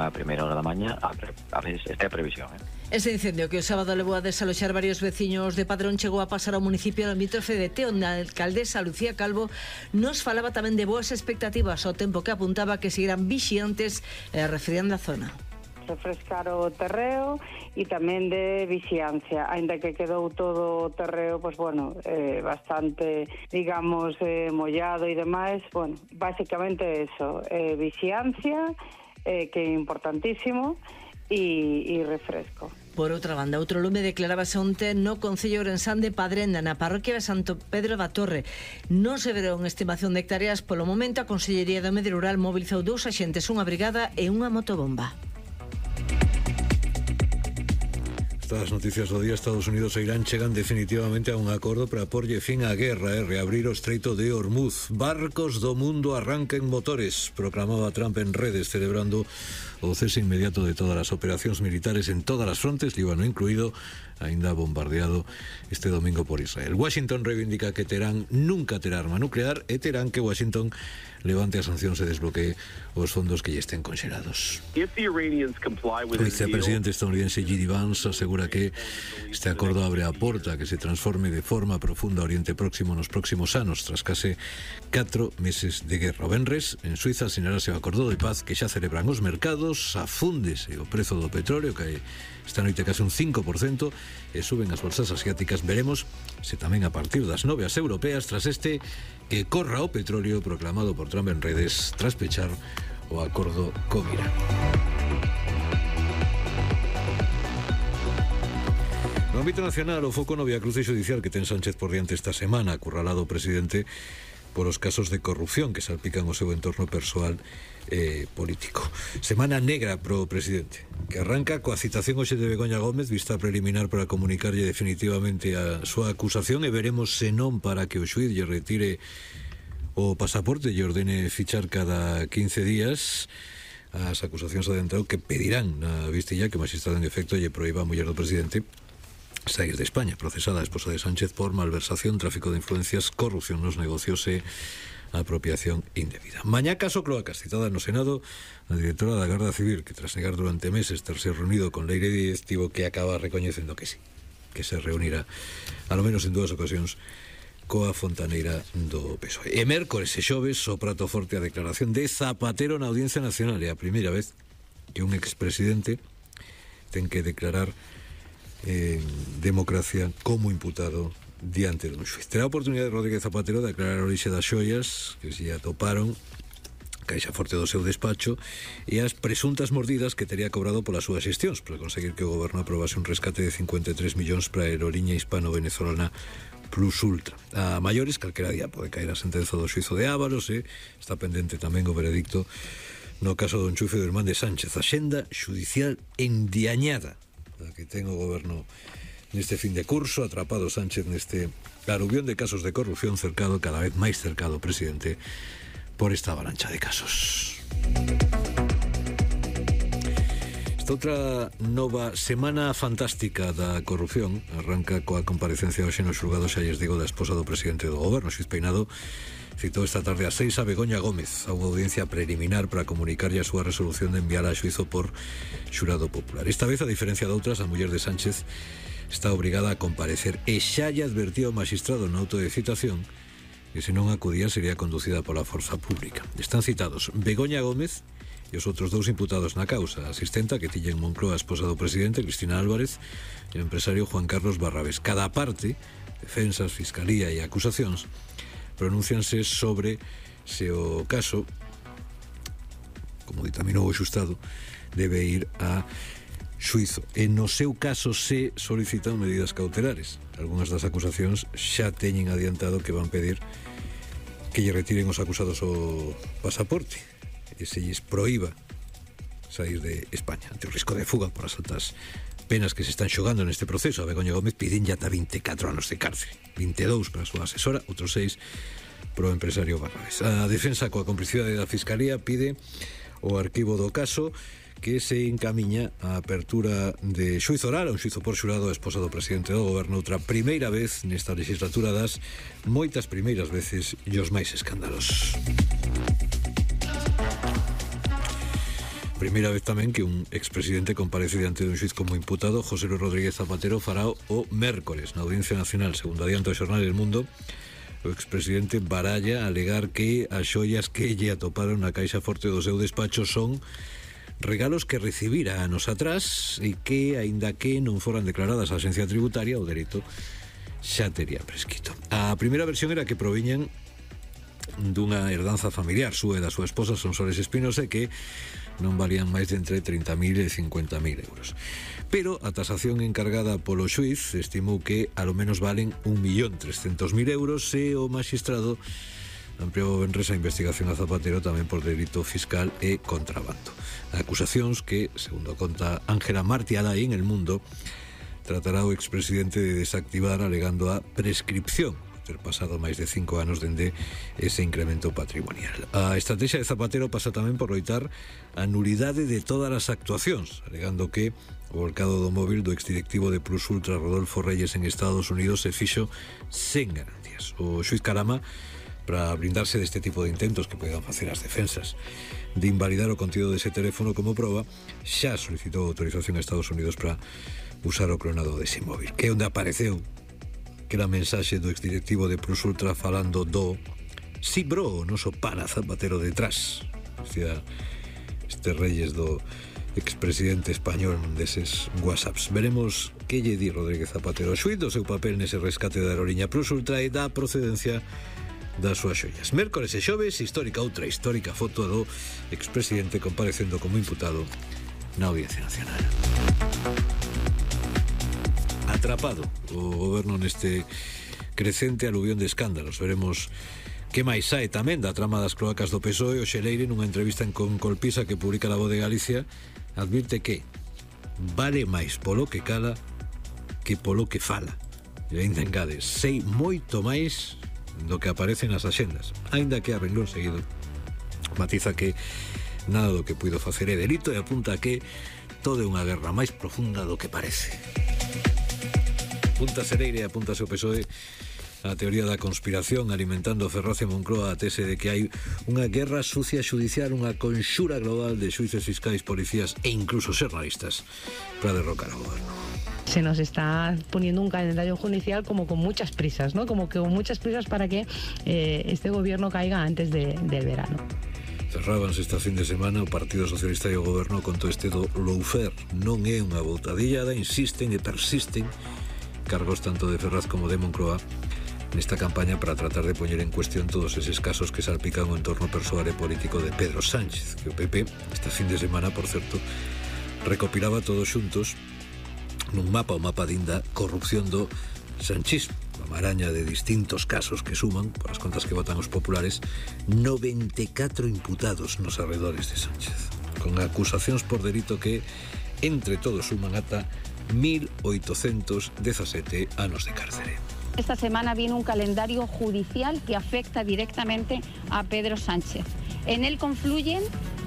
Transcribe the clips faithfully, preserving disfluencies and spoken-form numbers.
a primeira hora da mañá, a, a veces esta é a previsión, eh? Ese incendio que o sábado levou a desaloxar varios veciños de Padrón chegou a pasar ao municipio limítrofe de Teo, onde a alcaldesa Lucía Calvo nos falaba tamén de boas expectativas ao tempo que apuntaba que seguirán vixiantes e refriando a zona. Refrescar o terreo e tamén de vixiancia, aínda que quedou todo o terreo, pois bueno, eh, bastante, digamos, eh, mollado e demais, bueno, basicamente eso, eh, vixiancia, eh, que é importantísimo, e, e refresco. Por outra banda, outro lume declarábase onte no Concello Ourensán de Padrenda, na parroquia de Santo Pedro da Torre. Non se verá unha estimación de hectáreas. Polo momento, a Consellería do Medio Rural mobilizou dous axentes, unha brigada e unha motobomba. Estas noticias do día. Estados Unidos e Irán chegan definitivamente a un acordo para porlle fin á guerra e reabrir o estreito de Hormuz. Barcos do mundo arranquen motores, proclamaba Trump en redes, celebrando o cese inmediato de todas as operacións militares en todas as frontes, Líbano incluído, aínda bombardeado este domingo por Israel. Washington reivindica que Teherán nunca terá arma nuclear e terán que Washington levante as sancións e desbloquee os fondos que lle estén conxelados. O vicepresidente estadounidense J D Vance asegura que este acordo abre a porta a que se transforme de forma profunda Oriente Próximo nos próximos anos, tras case catro meses de guerra. O venres, en Suiza, asinarase o acordo de paz que xa celebran os mercados, afúndese o prezo do petróleo, que esta noite case un cinco por cento, e suben as bolsas asiáticas. Veremos se tamén a partir das nove as europeas, tras este que corra o petróleo proclamado por Trump en redes tras pechar o acordo con Irán. No ámbito nacional, o foco no viacruce xudicial que ten Sánchez por diante esta semana, acurralado o presidente por os casos de corrupción que salpican o seu entorno persoal e eh, político. Semana negra pro presidente, que arranca coa citación hoxe de Begoña Gómez, vista preliminar para comunicarlle definitivamente a súa acusación, e veremos se non para que o xuíz lle retire o pasaporte e lle ordene fichar cada quince días. As acusacións adentrado que pedirán na vistilla que o magistrado en efecto lle proíba a muller do presidente saír de España, procesada a esposa de Sánchez por malversación, tráfico de influencias, corrupción nos negocios e apropiación indebida. Mañá caso Cloacas, citada no Senado a directora da Garda Civil, que tras negar durante meses terse reunido con Leire Díez, tivo que acaba recoñecendo que sí, que se reunirá alo menos en dúas ocasións coa fontaneira do P S O E. E mércores e xoves o prato forte a declaración de Zapatero na Audiencia Nacional. É a primeira vez que un expresidente ten que declarar en democracia como imputado diante dun xuiz. Terá a oportunidade de Rodríguez Zapatero de aclarar a orixe das xoias que se atoparon caixa forte do seu despacho e as presuntas mordidas que tería cobrado polas súas xestións para conseguir que o goberno aprobase un rescate de cincuenta e tres millóns para a aeroliña hispano-venezolana Plus Ultra. A maiores, calquera día pode caer a sentenza do xuizo de Ávalos e está pendente tamén o veredicto no caso do enchufe do irmán de Sánchez. A xenda xudicial endiañada que ten o goberno neste fin de curso, atrapado Sánchez neste aluvión de casos de corrupción, cercado, cada vez máis cercado o presidente por esta avalancha de casos. Esta outra nova semana fantástica da corrupción arranca coa comparecencia hoxe no xulgado, xa lles digo, da esposa do presidente do goberno, Xuiz Peinado. Citou esta tarde a seis a Begoña Gómez a unha audiencia preliminar para comunicarlle a súa resolución de enviar a xuizo por xurado popular. Esta vez, a diferencia de outras, a muller de Sánchez está obrigada a comparecer e xa lle advertía o magistrado na auto de citación que se non acudía sería conducida pola forza pública. Están citados Begoña Gómez e os outros dous imputados na causa, a asistenta que tiña en Moncloa, a esposa do presidente, Cristina Álvarez, e o empresario Juan Carlos Barrabés. Cada parte, defensas, fiscalía e acusacións, pronúncianse sobre se o caso, como ditaminou o xustado, debe ir a xuizo. E no seu caso se solicitan medidas cautelares. Algúnas das acusacións xa teñen adiantado que van pedir que lle retiren os acusados o pasaporte e se lles proíba sair de España ante o risco de fuga por as altas penas que se están xogando neste proceso. A Begoña Gómez piden ya ata vinte e catro anos de cárcel, vinte e dous para a súa asesora, outros seis pro empresario Barrabés. A defensa, coa complicidade da Fiscalía, pide o arquivo do caso, que se encamiña a apertura de xuizo oral, un xuizo por xurado a esposa do presidente do goberno, outra primeira vez nesta legislatura das moitas primeiras veces e os máis escándalos. primeira vez tamén que un expresidente comparece diante dun xuiz como imputado. José Luis Rodríguez Zapatero fará o mércores na Audiencia Nacional, segundo adianto do xornal El Mundo. O expresidente baralla alegar que as xoias que lle atoparon na caixa forte do seu despacho son regalos que recibira anos atrás e que, aínda que non foran declaradas a Axencia Tributaria, o dereito xa tería prescrito. A primeira versión era que proviñan dunha herdanza familiar súa e da súa esposa Sonsoles Espinosa, que non valían máis de entre trinta mil e cincuenta mil euros. Pero a tasación encargada polo xuiz estimou que alo menos valen un millón trescentos mil euros e o magistrado ampliou venres a investigación a Zapatero tamén por delito fiscal e contrabando. Acusacións que, segundo conta Ángela Martí Alay en El Mundo, tratará o expresidente de desactivar alegando a prescripción ter pasado máis de cinco anos dende ese incremento patrimonial. A estrategia de Zapatero pasa tamén por loitar a nulidade de todas as actuacións, alegando que o volcado do móvil do exdirectivo de Plus Ultra Rodolfo Reyes en Estados Unidos se fixo sen garantías. O xuiz Carama, para blindarse deste tipo de intentos que poden facer as defensas de invalidar o contido dese teléfono como proba, xa solicitou autorización a Estados Unidos para usar o clonado dese móvil, que é onde apareceu que era a mensaxe do exdirectivo de Plus Ultra falando do "si bro, o noso pana Zapatero detrás", decía este Reyes do expresidente español deses whatsapps. Veremos que lle di Rodríguez Zapatero xuiz do seu papel nese rescate da aeroliña Plus Ultra e da procedencia das súas xoias. Mércores e xoves, histórica outra histórica foto do expresidente comparecendo como imputado na Audiencia Nacional. Atrapado o goberno neste crecente aluvión de escándalos. Veremos que máis sae tamén da trama das cloacas do P S O E. O Xeleire, nunha entrevista en Con Colpisa que publica La Voz de Galicia, advirte que vale máis polo que cala que polo que fala. E ainda engade, sei moito máis do que aparece nas axendas, aínda que a renglón seguido matiza que nada do que puido facer é delito e apunta que todo é unha guerra máis profunda do que parece. Apunta Xeleire e apuntase o P S O E a teoría da conspiración, alimentando Ferraz e Moncloa a tese de que hai unha guerra sucia judicial, unha conxura global de xuíces fiscais, policías e incluso xornalistas para derrocar ao goberno. Se nos está poniendo un calendario judicial como con muchas prisas, ¿no? Como que con muchas prisas para que eh, este gobierno caiga antes de, del verano. Cerrábanse esta fin de semana o Partido Socialista e o goberno con todo este do lawfare. Non é unha boutadillada, insisten e persisten cargos tanto de Ferraz como de Moncloa nesta campaña para tratar de poñer en cuestión todos eses casos que salpican o entorno persoal e político de Pedro Sánchez, que o P P esta fin de semana, por certo, recopilaba todos xuntos nun mapa, o mapa dinda corrupción do sanchismo, a maraña de distintos casos que suman, por as contas que votan os populares, noventa e catro imputados nos arredores de Sánchez, con acusacións por delito que entre todos suman ata mil oitocentos dezasete anos de cárcere. Esta semana viene un calendario judicial que afecta directamente a Pedro Sánchez. En él confluyen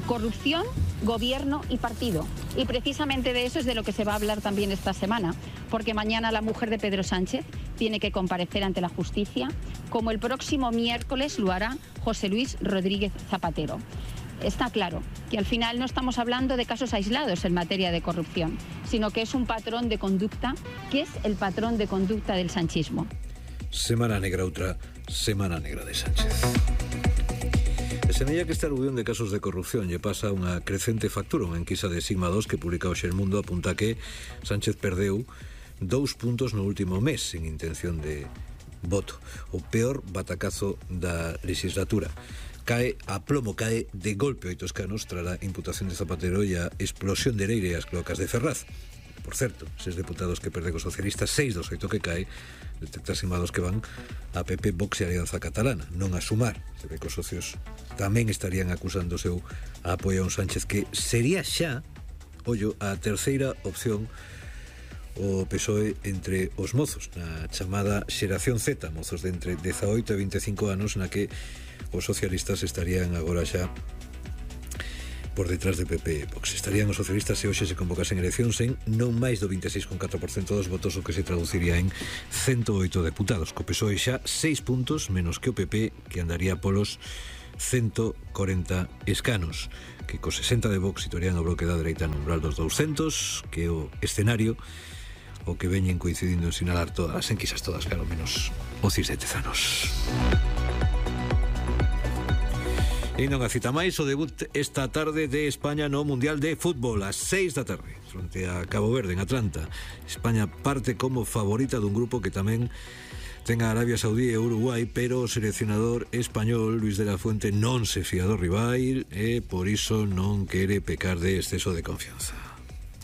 corrupción, gobierno y partido. Y precisamente de eso es de lo que se va a hablar también esta semana, porque mañana la mujer de Pedro Sánchez tiene que comparecer ante la justicia, como el próximo miércoles lo hará José Luis Rodríguez Zapatero. Está claro que al final no estamos hablando de casos aislados en materia de corrupción, sino que es un patrón de conducta, que es el patrón de conducta del sanchismo. Semana negra, outra semana negra de Sánchez. E semella que esta aluvión de casos de corrupción lle pasa unha crecente factura. Unha enquisa de Sigma dos que publica hoxe El Mundo apunta que Sánchez perdeu dous puntos no último mes sin intención de voto. O peor batacazo da legislatura. Cae a plomo, cae de golpe oito escanos tras a imputación de Zapatero e a explosión de Leire e as cloacas de Ferraz. Por certo, seis deputados que perde cos socialistas, seis dos oito que cae, detecta Sigma dos que van a P P, Vox e Alianza Catalana, non a Sumar. Se ve que os socios tamén estarían acusando o seu apoio a un Sánchez que sería xa, ollo, a terceira opción o P S O E entre os mozos, na chamada xeración Z, mozos de entre dezaoito e veinticinco anos, na que os socialistas estarían agora xa por detrás de P P e Vox. Estarían os socialistas se hoxe se convocasen eleccións en non máis do veintiséis coma catro por cento dos votos, o que se traduciría en ciento oito deputados, co P S O E xa seis puntos menos que o P P, que andaría polos ciento cuarenta escanos, que co sesenta de Vox situarían o bloque da dereita no umbral dos douscentos, que é o escenario o que veñen coincidindo en sinalar todas as enquisas, todas, claro, menos o CIS de Tezanos. E non a cita máis, o debut esta tarde de España no Mundial de Fútbol ás seis da tarde, fronte a Cabo Verde en Atlanta. España parte como favorita dun grupo que tamén ten a Arabia Saudí e Uruguai, pero o seleccionador español Luis de la Fuente non se fía do rival e por iso non quere pecar de exceso de confianza.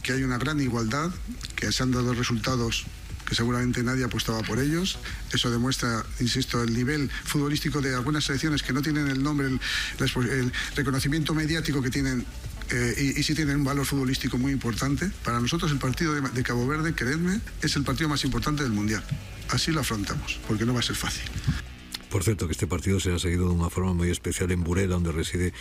Que hay una gran igualdad, que se han dado resultados que seguramente nadie apostaba por ellos. Eso demuestra, insisto, el nivel futbolístico de algunas selecciones que no tienen el nombre, el, el reconocimiento mediático que tienen, eh, y, y sí tienen un valor futbolístico muy importante. Para nosotros el partido de, de Cabo Verde, creedme, es el partido más importante del Mundial. Así lo afrontamos, porque no va a ser fácil. Por certo, que este partido será seguido dunha forma moi especial en Burela, onde reside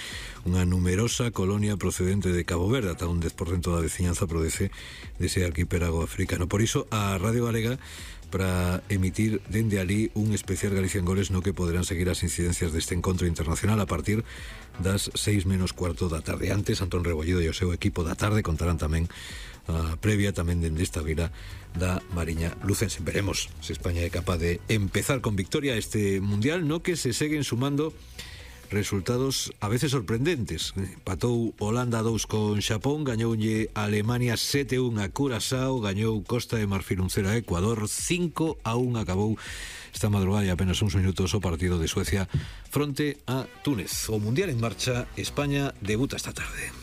unha numerosa colonia procedente de Cabo Verde, ata un dez por cento da veciñanza procede dese arquipélago africano. Por iso, a Radio Galega para emitir dende ali un especial Galicia en Goles no que poderán seguir as incidencias deste encontro internacional a partir das seis menos cuarto da tarde. Antes, Antón Rebollido e o seu equipo da tarde contarán tamén a previa tamén dende esta vila da Mariña Lucense. Veremos se España é capaz de empezar con victoria este Mundial no que se seguen sumando resultados a veces sorprendentes. Patou Holanda dous con Xapón, gañoulle Alemania sete a un a Curazao, gañou Costa de Marfil un cero a Ecuador, cinco a un acabou esta madrugada e apenas uns minutos o partido de Suecia fronte a Túnez. O Mundial en marcha, España debuta esta tarde.